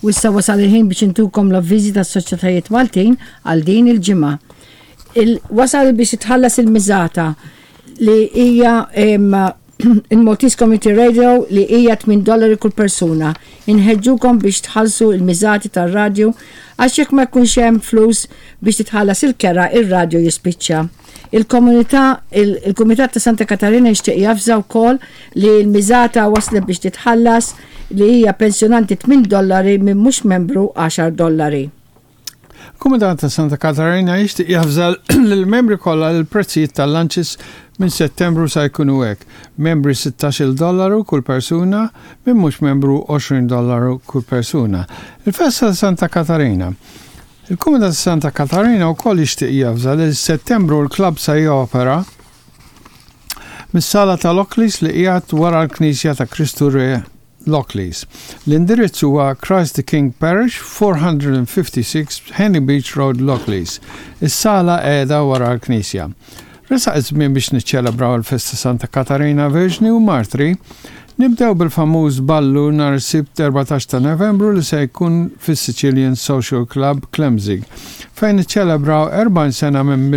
U issa wasal il-ħin biex intukom l-avviżi tas-soċjetajiet Maltin għal din il-ġimgħa. Il wasal biex titħallas il-miżata li hija il-Maltese Community Radio li hija 8 dollari kull persuna. Inħeġġukom biex tħallsu il-miżati tar-radju għax jekk ma jkunx hemm flus biex titħallas il-kera ir-radju jispiċċa. Il-komunità, il-Kumitat ta' Santa Katarina jixtieq javża wkoll li l-miżata waslet biex titħallas li hija pensjonanti 8 dollari minn mhux membru 10 dollari. Kumitat ta' Santa Katarina jixtieq javża lill-membri kollha li l-prezzijiet tal-lunches minn Settembru sa jkunu hekk. Membri 16-il dollaru kull persuna, minn mhux membru 20 dollaru kull persuna. Il-festa ta' Santa Katarina. Il-Kumitat ta' Santa Katarina wkoll jixtieq javża li Settembru l-klabb sa jopera mis-sala tal-Lockleys li qiegħed wara l-Knisja ta' Kristu Re Lockleys. L-indirizz huwa Christ the King Parish, 456 Henley Beach Road, Lockleys. Is-sala qiegħda wara l-Knisja. Resaq iż-żmien biex niċċelebraw il-festa Santa Katarina Verġni u Martri. Nibdew bil-famuż ballu nhar is-Sibt 14 ta' Novembru li se jkun fis-Sicilian Social Club Klemzig, fejn niċċelebraw 40 sena minn